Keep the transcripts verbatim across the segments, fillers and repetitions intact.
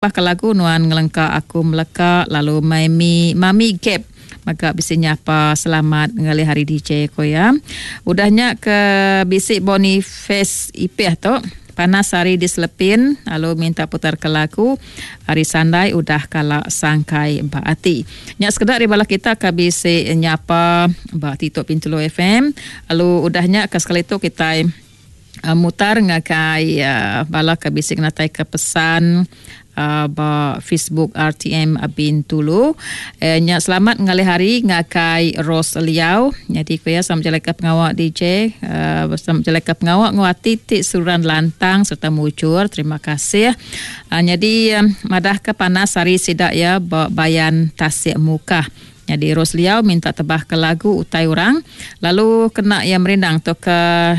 Ke lagu Nuan Ngelengka Aku Meleka, lalu Mami Mami Gap maka bisi nyapa selamat ngalih hari D J ko ya. Udah nya ke bisi Boniface Ipeh tu panas hari di Selepin lalu minta putar ke lagu Hari Sandai Udah Kala Sangkai Ba Ati. Nya sekedar bala kita ke bisi nyapa ba Titok Bintulu F M. Lalu udah nya ke sekali tu kita uh, mutar ngagai uh, bala ke bisi ngatai ke pesan Uh, ba Facebook R T M Bintulu. Eh, nya selamat ngalih hari ngagai Rose Liau. Jadi ku ya sama jalan ke pengawak D J, uh, sama jalan ke pengawak nguati ti suran lantang serta mujur. Terima kasih. Uh, jadi um, madah ke panas hari sidak ya ba Bayan Tasik Mukah. Jadi Rose Liau minta tebah ke lagu Utai Orang. Lalu kena yang merindang tu ke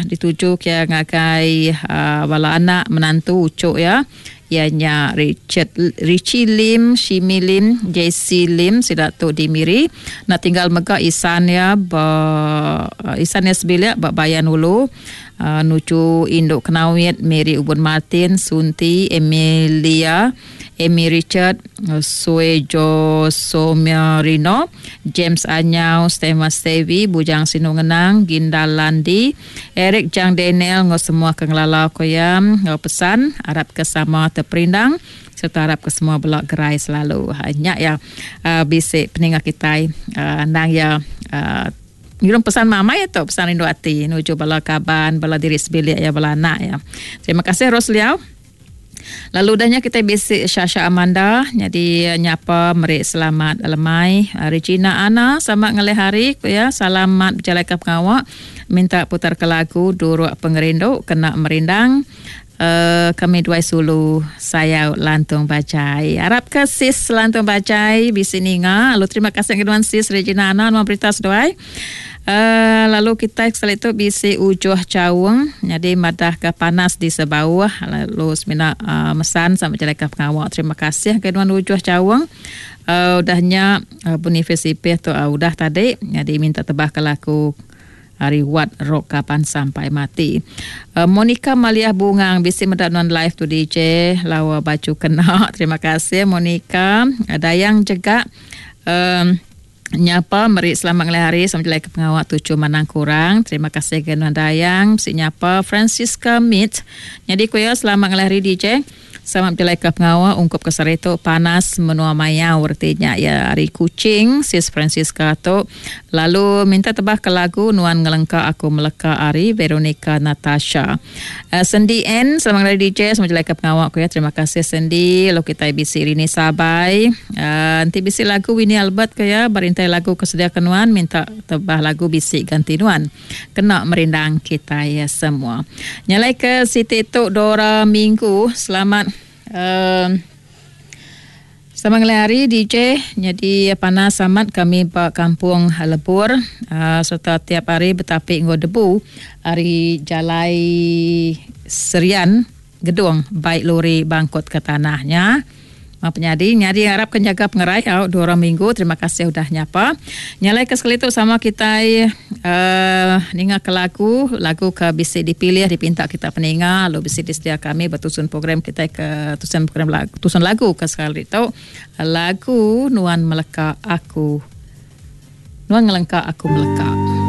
dituju ke ngagai uh, bala anak menantu ucuk ya. Ianya Richard Richie Lim, Shimi Lim, J C Lim sida tu di Miri. Nak tinggal mega Isan ya ba Isan ya sebilik ba Bayan Ulu. Uh, nuju Induk Kenawit, Mary Ubun Martin, Sunti, Emilia, Amy Richard, Suejo Somerino, James Anyau, Stema Stevi, Bujang Sinu Ngenang, Ginda Landi, Eric Jang Daniel, ngau semua ke ngelalau koyam, ngau pesan, harap ke sama terperindang, serta harap ke semua belak gerai selalu. Hanya ya uh, bisik peninggal kita, uh, nang ya uh, ngirum pesan mama ya tu, pesan rindu ati nuju bala kaban, bala diri sebilik ya, bala anak ya. Terima kasih Ros Liau. Lalu udahnya kita bisik Syasha Amanda jadi nyapa merik selamat lemai. Regina Ana sama ngalih hari ya, selamat berjalan ke pengawak, minta putar ke lagu Duruk Pengerindu kena merindang. Uh, kami dua sulu saya Lantung Bajai. Harap ke sis Lantung Bajai bisi ninga. Lalu terima kasih keduan sis Regina Ana nuan berita seduai. Uh, lalu kita sekali tu bisi ujuh caung jadi madah ke panas di sebawah lalu semina uh, mesan sama jalan ke pengawak. Terima kasih keduan ujuh caung. Uh, udahnya uh, Boniface Ipeh tu uh, udah tadi jadi minta tebah ke laku Hari Wat Rock Kapan Sampai Mati. Uh, Monica Maliah Bungang bisi medak non live tu D J lawa baju kena. Terima kasih Monica. Uh, Dayang juga um, nyapa meri selamat ngalih hari sama jelai ke pengawak tujuh manang kurang. Terima kasih ke Nuan Dayang. Bisi nyapa Francisca Meat. Jadi kuya selamat ngalih hari D J. Selamat berjalan ke pengawak ungkup ke itu panas menua mayau artinya ya hari kucing sis Francisca tu. Lalu minta tebah ke lagu Nuan Ngelengka Aku Meleka Ari Veronica Natasha. Uh, Sendi N selamat ngalih D J selamat berjalan ke pengawak ku ya. Terima kasih Sendi. Lalu kita bisi Rini Sabai. Uh, nanti bisi lagu Winnie Albert ke ya berintai lagu kesedia ke Nuan minta tebah lagu bisi ganti Nuan. Kena merindang kita ya semua. Nyalai ke Siti tu Dora Minggu selamat Uh, selamat ngalih hari D J. Jadi panas amat kami ba kampung Lebur uh, serta tiap hari betapik nggo debu hari Jalai Serian Gedung baik lori bangkut ke tanahnya. Ma penyadi nyadi harap kan jaga pengerai au dua orang minggu. Terima kasih udah nyapa. Nyalai ke sekali tu sama kita uh, ninga ke lagu, lagu ke bisi dipilih dipinta kita peninga, lalu bisi disedia kami bertusun program kita ke tusun program lagu, tusun lagu ke sekali tu lagu Nuan Meleka Aku. Nuan Ngelengka Aku Meleka.